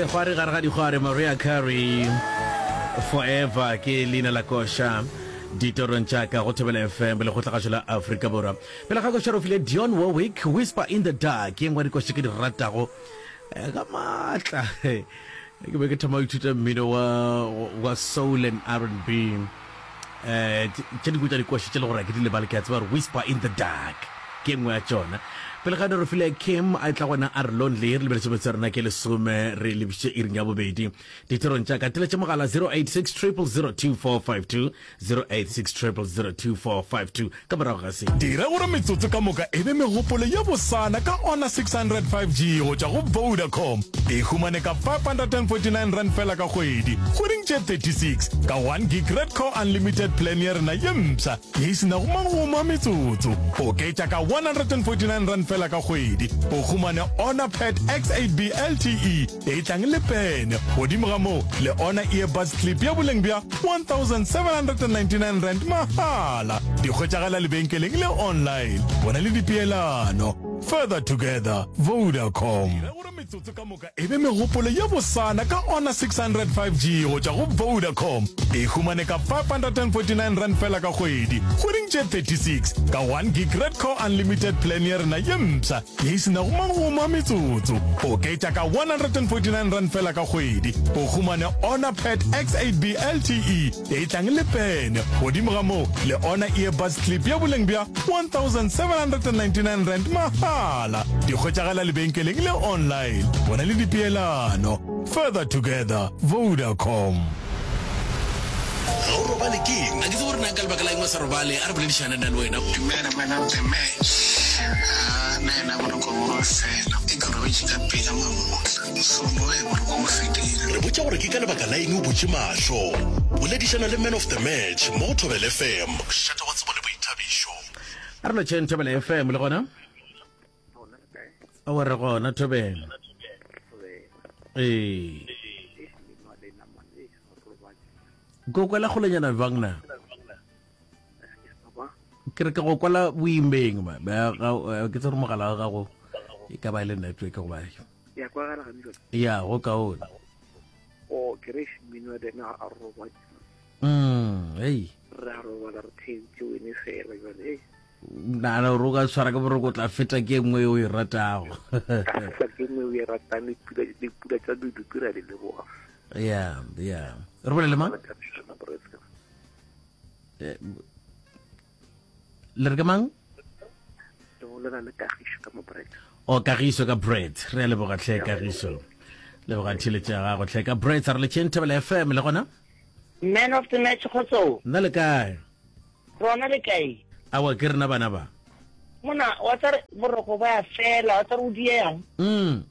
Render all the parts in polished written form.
Segwari gare ga dikgwari Maria Carey Forever ke leina la koša ditorong tša ka go Thobela FM lekgotlagašo la Afrika Borwa. Pele ga koša re file Dion Warwick Whisper in the Dark ye nngwe ya dikoša ke di ratago eh, ka maatla. Ke be ke thoma go ithuta mmino wa wa soul and R&B. Eh tše dingwe tša dikoša tše le gore ke di lebale ke a tseba gore Whisper in the Dark ke nngwe ya tšona. Pele ga re file Kim a tla gona a re lonely re lebeletse botse rena ke lesome re lebišitše iring ya bobedi ditirong tša ka teletše mogala 086 000 2452 086 000 2452 ka morago ga se. Dira gore metsotso ka moka e be megopolo ye bosana ka Honor 600 5G go tšwa go Vodacom. E humane ka R549 feela ka kgwedi, kgweding tše 36, ka 1 gig Red Core Unlimited plan ya rena ye mpsha ye e se nago magomo a metsotso. Oketša ka R149 feela ka kgwedi, o humane Honor Pad X8B LTE e tlang le pene. Godimo ga moo, le Honor Earbuds Clip ya boleng bja R1799 mahala. Di hwetšagala lebenkeleng le online. Bona le dipeelano. Further together, Vodacom. Dira gore metsotso ka moka e be megopolo ye bosana ka Honor 600 5G go tšwa go Vodacom. E humane ka R549 feela ka kgwedi, kgweding tše 36, ka 1 gig Red Core Unlimited plan ya rena ye mpsha ye e se nago magomo a metsotso. Oketša ka R149 feela ka kgwedi, o humane Honor Pad X8B LTE ye e tlang le pene. Godimo ga moo, le Honor Earbuds Clip ya boleng bja R1799 mahala. Di hwetšagala lebenkeleng le online. Bona le dipeelano. Further together, Vodacom. Ga o robale ke eng? A ke tsebe gore na ka lebaka la eng o sa robale. A re boledišane nna le wena. Dumela man of the match. Haa nna yena boroko bo a fela. E ke robetše ka pela mamohla. So no he boroko bo fedile. Re botša gore ke ka lebaka la eng o butše mahlo. Boledišana le man of the match mo go Thobela FM. Mošate wa tsebo le boithabišo. A re lotšheng Thobela FM le gona. Aowa re gona Thobela. Ee. Ko kwela kgolenyana bjang na? Ke re ke go kwela boimeng ma. Eh, ke tsere mogala wa gago e ka ba e le network goba. Ya kwagala ga jwale. Ya go kaone. O ke re mmino wa dena a robatse. Mm, hey. Re a robala re theetše wene fela jwale. Hey. Nagana gore o ka tshwara ke boroko o tla feta ke e nngwe e o e ratago. Ka feta ke nngwe o e ratang le pula le pula tsa medupi ra di leboga. Ya, ya. Re bolele mang? Eh, Le re ke mang? Le bolela le Kagišo ka mo Brett. O Kagišo ka Brett. Re a leboga tlhe Kagišo. Leboga theletše ya gago tlhe ka Brett. A re le tšheng Thobela FM le gona? Man of the match kgotso. Nna le kae? Rona le kae? Aowa, ke rena bana ba. Mona, wa tsare boroko ba ya fela, wa tsare o dieyang. Mm.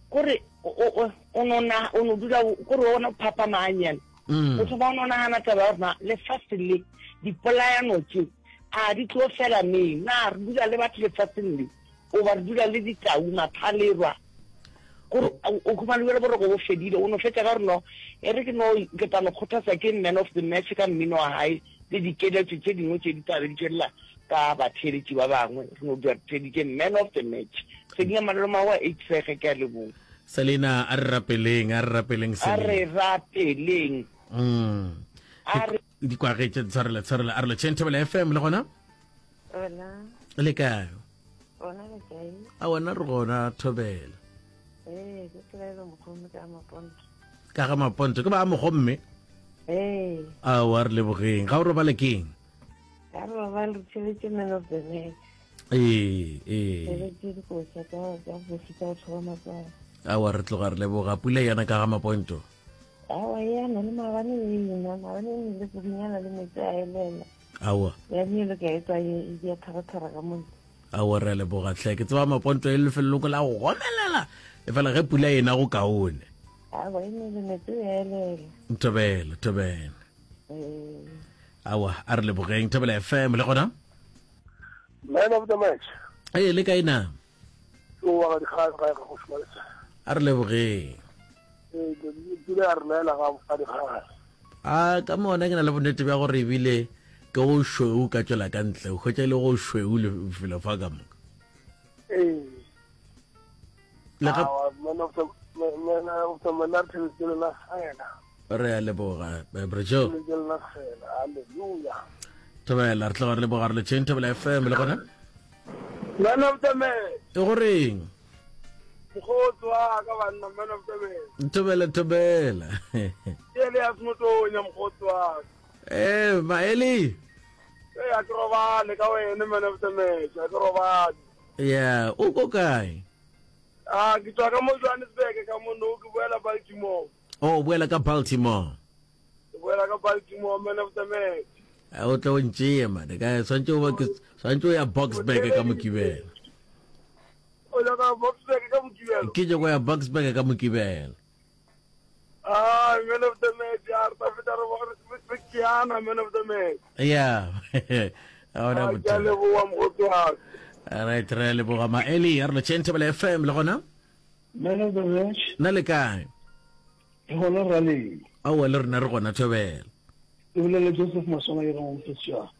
Kore o o o no na o no dula kore o no phapama hanyane. Mm. O thoma o no nagana taba ya gore na lefase le dipolayano tše a di tlo fela neng? Na re dula le batho lefaseng le o ba re dula le ditau mathalerwa? Kore o khumane bjale boroko bo fedile o no fetša ka gore no e re ke no ke tla no kgothatsa ke man of the match ka mmino wa hae le dikeletšo tše dingwe tše di tla be di tšwelela ka batheeletši ba bangwe re no dula re theeditše man of the match Selina Maloma wa Eidsege ke a leboga. Selina a re rapeleng a re rapeleng A re rapeleng. Mm. A re Di kwagetše tshwarela tshwarela a re lotšheng Thobela FM le gona Hola. le kae? Gona le kae? A wena re gona Thobela. Ee, ke Tlwaelo Mogomme ka Maponto. Ka ga Maponto ke ba Mogomme? Ee. Aowa re lebogeng. Ga o robale keng? Ga re robale re theletše man of the match. Ee, ee. Theletše dikoša tsa tsa bose tsa go thoba matswalo. Aowa re tloga re leboga. Pula yana ka ga Maponto. Aowa yana le maabane e ina, maabane e nile kudunyana le metsi a elela. Aowa. Ya nile ka e tswa e dia tharathara ka mo. Aowa re a leboga hle. Ke tseba Maponto e lefelong la go gomelela. E fela ge pula ena go kaone. Aowa e nile metsi a elela. Thobela, thobela. Ee. Aowa a re lebogeng Thobela FM le gona. Man of the match. Ee le kae na? O wa ga dikgang ga ga go šoma le. A re lebogeng. Ee, pula ya re laela ga ga dikgang. A ka mona ke na le bonnete bja gore ebile ke go šweu ka tšwela ka ntle o hwetša e le go šweu lefelo fa ka moka. Ee. Le ga Man of the man of the man ke lena fela. Re a leboga, eh, Bra Joe. Ke lena fela. Hallelujah. Thobela, re tloga re leboga re le tšheng Thobela FM le gona. Man of the man. E goreng? Mokgotsi wa ka banna man of the man. Thobela thobela. Ke le ya smotonya mokgotsi wa ka. Eh, Maeli. Eh, a ke robale ka wena man of the match, a ke robale. Yeah, o ko kae? Ah, ke tswa ka mo Johannesburg ka mo no ke boela Baltimore. Oh, o boela ka Baltimore. Ke boela ka Baltimore man of the match. A o tlo ntšee mane ka swantse o ba ke swantse o ya Boksburg ka Mokibelo. O ya ka Boksburg ka Mokibelo. Ke nyako ya Boksburg ka Mokibelo. Ah, man of the match, ya re tla feta re re tšeana man of the match. Yeah. A ona Ah, ke a bothata. leboga mokgotsi wa ka. Right, re a leboga Maeli, a re lotšheng Thobela FM le gona. Man of the match. Na le kae? Re gona raleng. Aowa le rena re gona Thobela. Ke bolela Joseph Maswana ke mo Mosesejane.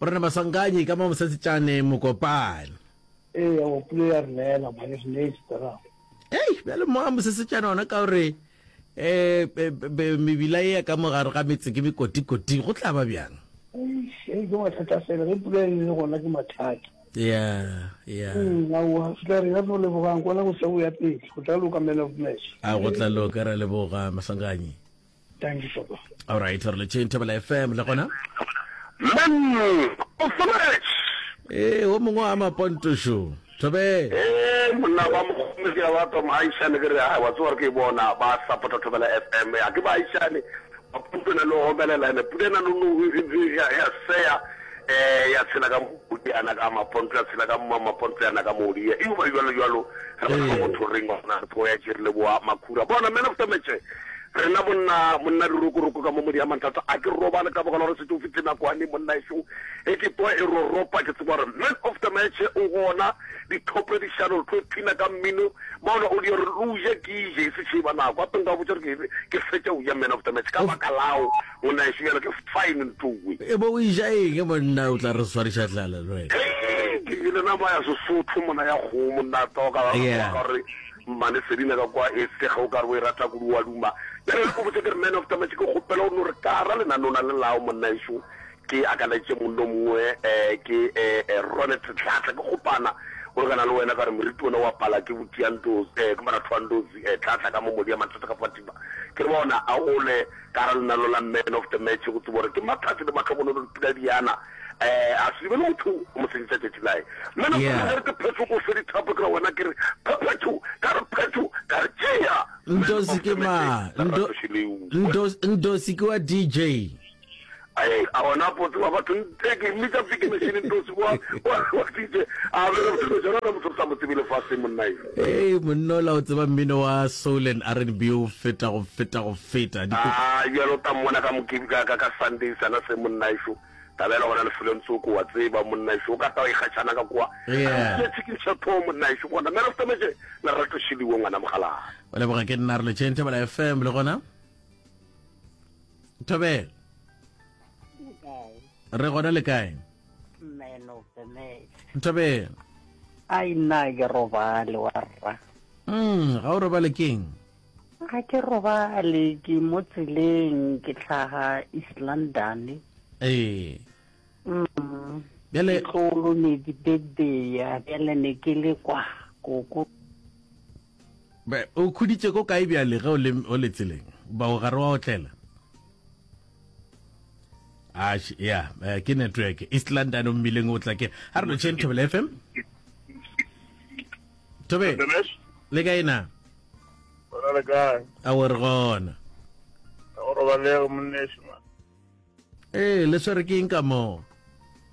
Morena Maswanganyi ka mo Mosesejane Mokopane. Ee, aowa pula ya re neela mane re neetse tara. Ei, bjale mo a Mosesejane ona ka gore eh mebila e ya ka mo gare ga metse ke mekotikoti go tla ba bjang? Ei, ke mathata fela ge pula e le gona ke mathata. Yeah, yeah. Aowa, re tla re ya no lebogang kwana go se go ya pele go tla loka man of match. A go tla loka ra leboga Maswanganyi. Thank you, Papa. All right, re le tšheng Thobela FM le gona. Man of the match. Eh, o mongwe wa mapontošo. Thobela. Eh, monna ba mogome ke ba twa moaishane ke re ha wa tsoa ke bona ba support Thobela FM. Ya ke ba aishane ba pontona le homelela ene pula na no ya ya seya eh ya tshela ka modi ana ka maponto ya tshela ka mma maponto ya na ka modi e ba jwalo jwalo re ba go thoreng gona re ya tšere le boa makhura bona man of the match Rena monna, monna dirokoroko ka mo modi ya manthata, a ke robale ka baka la gore setse o fihle nakwane monna ešo e ke twa e roropa ke tseba gore man of the match o gona dithopo di šalo re tlo phina ka mmino bona o di re o je ke je e se tšheba nako ape nka botša gore ke fetša o ja man of the match ka baka lao monna ešo bjalo ke fine ntowe e bo o ja eng monna o tla re swariša tlala le wena ke jele nama ya sesotho mona ya kgomo nna toka gore Mmane Selina ka kwa e sega o ka re o e rata kudu wa duma. Bjale re ko botse ke re man of the match ke kgopela o no re ka ra lenanona le lao monna ešo ke akaleditše monno mongwe eh, ke eh, eh, Ronet Tlatla ke kgopana o lekana le wena ka re moriti ona wa pala ke botiantozi eh, ke maratho wa ndozi eh, Tlatla ka mo modi ya mathata ka Fatima ke re bona a ole ka ra lenano la man of the match go tsebo gore ke mathate le matlhokonono dipula diana eh a se be le motho o mo senyetsa tšatši lae mme na yeah. ke phetho ko fe dithapo ke ra wena ke re phephetho ka re phetho ka re tšea ndosi ke ma ndo ndosi ke wa DJ ai a ona potse wa batho nte ke mmitsa piki machine ndosi wa wa DJ a be re motho jona re motho sa mo tsebe lefase monna e ee monna ola o tseba mmino wa soul and R&B o feta go feta go feta a jalo ta mmona ka mokibi ka ka Sunday sana se monna ešo Tabela gona lefelong tsoko, wa tseba, monna ešo, o ka tla wa ikgatšhana ka kwa. Yeah. Ke chicken chapo, monna ešo, gona. Man of the match, Lerato Shiliwe, ngwana mogalana. O leboga ke nna re letšeng Thobela FM le gona. Thobela. Re gona le kae? Man of the match. Thobela. Ai nna ke robale wa rra. Mm, ga o robale keng? Ga ke robale, ke mo tseleng ke hlaga East London. Ee. Mm. Bjale tlolo ne di birthday ya bjale ne ke le kwa koko. Be o khuditše ko kae bjale ge o le o le tseleng? Ba o gare wa otlela. Ah, ya, eh, ke network. East London o mmileng o tla ke. Ha re lo tšheng Thobela FM. Thobela. Le kae na? Gona le kae? A o re gona. Ga go robalege monneši man. Ee, le swere ke eng ka moo?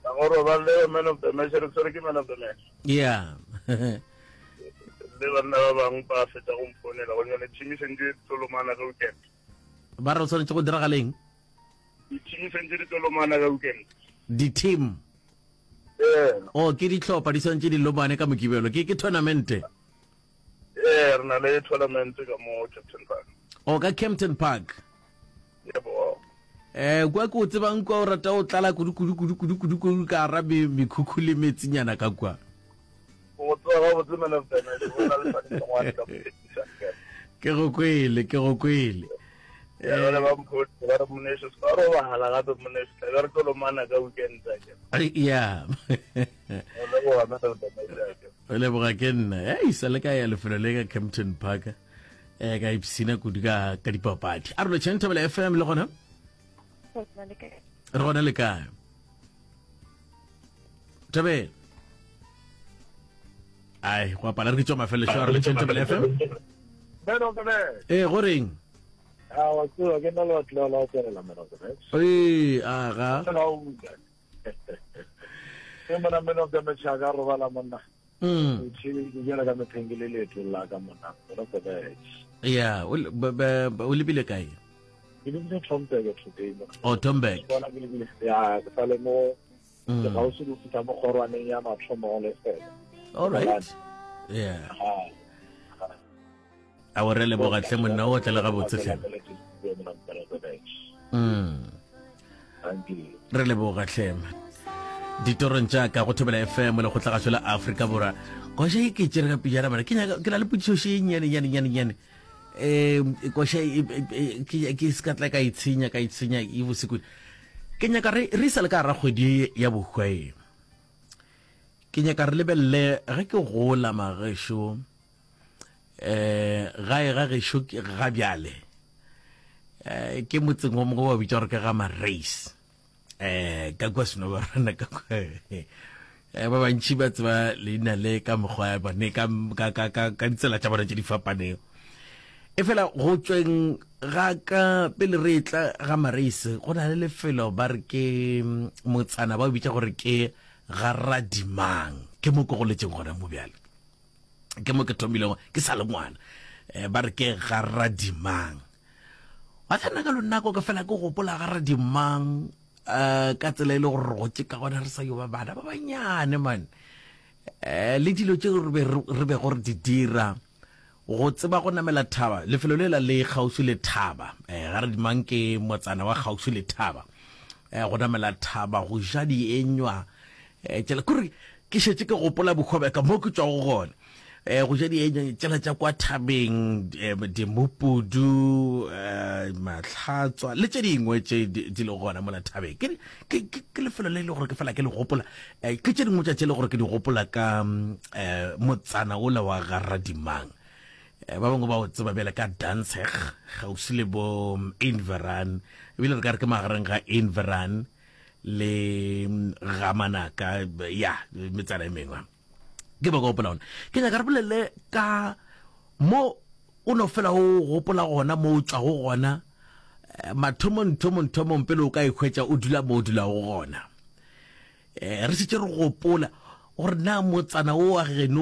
Ga go robalege man of the match, re swere ke man of the match. Yeah. Le banna ba bangwe ba fetsa go mfonela go nyane team e sentse e tolomana ka weekend. Ba re o tshwanetse go diragaleng? Di-team sentse di tolomana ka weekend. Di-team? Ee. Oh, ke dihlopha di swantse di lomane ka Mokibelo. Ke ke tournamente. Ee, re na le tournament ka mo Kempton Park. O ka Kempton Park. Yebo. Eh, kwa ke o tsebang kwa o rata o tlala kudu kudu kudu kudu kudu kudu ka ra mekhukhu le metsinyana ka kwa. O tseba. tsoga gabotse man of the match go na le swanetše ka mothekiša Ke go kwele, ke go kwele. Ya jale ba mpotse ba re moneso se ka robala gape moneso tla be re tlo lomana ka weekend ake. Ya. O leboga man of the match ake. O leboga ke nna. Ei sa le ka ya lefelo le ka Kempton Park. Eh ka ipsina kudu ka ka dipapadi. A re lo tšheng Thobela FM le gona? Re gona le kae? Thobela. Ai, go apala re ke tšwa mafelelo a re le tšheng Thobela FM. Man of the match. Eh go reng? A wa tseba ke nna le batho la la tswelela man of the match. Ee, aga. Ke mona man of the match a ka robala monna. Mm. Ke jela ka metheng ke le leetong la ka monna man of the match. Yeah, o o lebile kae? Ke lebile Tomberg today. Oh, Tomberg. Bona ke lebile ya ke sale mo mm. ke gausi go fihla mo kgorwaneng ya mathomo go lefela. All right. Yeah. A o re leboga tle monna o tle le gabotse tle. Mm. Re leboga tle. Ditorong tša ka go Thobela FM le go tlagašo la Afrika Borwa. Koša e ke tšere ka pijana bana. Ke nyaka ke na le potšišo še nyane nyane nyane nyane. Um koša e, e, e, ke ke se ka tla ka itshenya ka itshenya e bose kudu. Ke nyaka re re sa le ka gara kgwedi ya bohwa e. Ke nyaka re lebelele ge ke gola magešo eh gae ga gešo ga bjale eh ke motseng wa mongwe ba bitša gore ke ga Mareis eh ka kwa Senobarana ka kwa eh ba bantši ba tseba leina le ka mokgwa ya bone ka ka ka ka ka ditsela tša bona tše di fapanego e fela go tšweng ga ka pele re tla ga Mareis go na le lefelo ba re ke mm, motsana ba o bitša gore ke ga Radimang ke mo ke goletšeng gona mo bjale ke mo ke thomilego ke sa le ngwana um ba re ke ga radimang wa tsena ka lonako ke fela ke gopola ga radimang um ka tsela e le gore re gotse ka gona re sa yo ba bana ba banyane man um le dilo tse re bego re di dira go tseba go namela thaba lefelo le la le kgauswi le thaba um ga radimang ke motsana wa kgauswi le thaba um go namela thaba go ja dienywa um tšela kore ke šetše ke gopola bohwa bja ka mo ke tšwago gona um go ja dienywa tšela tša kwa thabeng um dimupudu um mahlatswa le tše dingwe tše di lego gona mola thabeng ke ke lefelo le e le gore ke fela ke le gopola um ke tše dingwe tša tše le gore ke di gopola ka um motsana ola wa garadimang um ba bangwe ba o tseba bjale ka Danzig kgauswi le bo Inveran ebile re ka re ke magareng ga Inveran le ga manaka ya metsana e mengwe ke ba gopola ona ke nyaka re bolele ka mo o no fela o gopola gona mo o tšwago gona eh, mathomong thomong thomong pele o ka ikhwetša o dula mo o dulago gona um re šetše re gopola gore na motsana o wa geno.